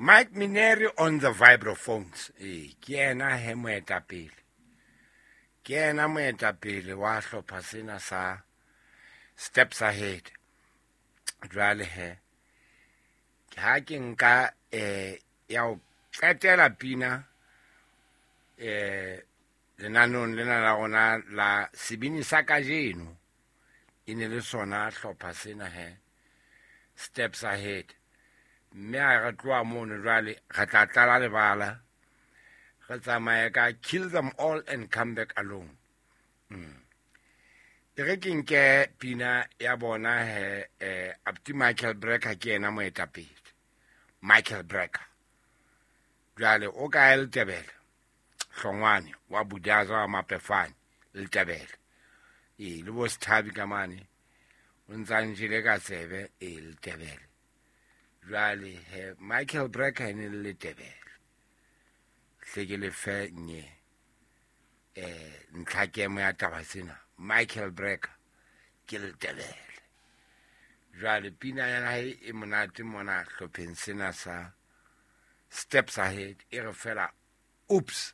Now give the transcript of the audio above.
Mike Mineri on the vibraphones. Ee, ke yena he moetapele, ke yena moetapele wa hlopha sena sa Steps Ahead. Jwale he, ha ke nka ya ho qetela pina lenaneong lena la rona la sebini sa kajeno, e ne le sona hlopha sena he, Steps Ahead. Mme ha re tloha mono jwale, re tla tlala lebala, re tsamaye ka Kill Them All and Come Back Alone. E re ke nke pina ya bona he, Abti Michael Brecker ke yena moetapele. Michael Brecker jwale o kae? Letebele Hlongwane wa Budaza wa Mapefane Letebele, ee, le bo Sethabi ka mane, o ntsa njele ka tsebe. Ee, Letebele. Jwale he, Michael Brecker e ne le Letebele. Hle ke lefe nye ntlhakemo ya taba sena. Michael Brecker ke Letebele. Jwale pina ya hae e monate mona hlopheng sena sa Steps Ahead, e re fela, "Oops."